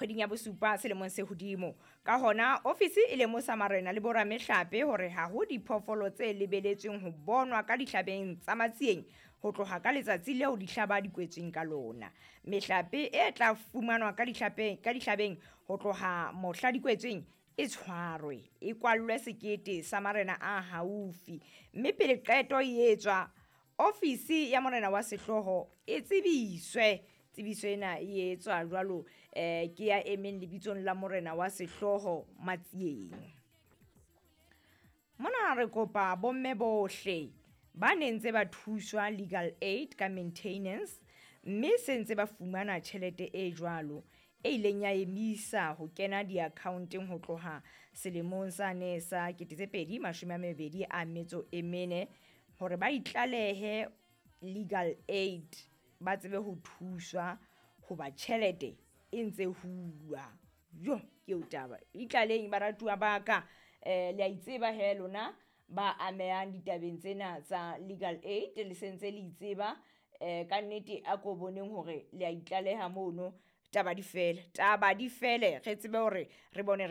Kgweding ya bosupa selemong se hodimo. Ka hona ofisi e lemosa marena le boramehlape hore ha ho diphoofolo tse lebeletsweng ho bonwa ka dihlabeng tsa Matsieng ho tloha ka letsatsi leo dihlaba di kwetsweng ka lona. Mehlape e tla fumanwa ka dihlabeng ho tloha mohla di kwetsweng e tshwarwe, e kwallwe sekete sa marena a haufi, mme pele qeto e etswa, ofisi ya morena wa sehlooho e tsebiswe. Tsebiso ena e etswa jwalo ke ya emeng lebitsong la morena wa sehlooho Matsieng. Mona re kopa bomme bohle ba ne ntse ba thuswa legal aid ka maintenance, mme se ntse ba fumana tjhelete e jwalo e ileng ya emisa ho kena di-account-eng ho tloha selemong sane sa 2024, hore ba itlalehe legal aid ba tsebe ho thuswa hoba tjhelete e ntse hulwa. Jo, ke eo taba. Itlaleheng baratuwa ba ka, le a itseba he lona ba amehang ditabeng tsena tsa legal aid, le sentse le itseba. Ka nnete a ko boneng hore le a itlaleha mono, taba di fele, taba di fele, re tsebe hore re bone re.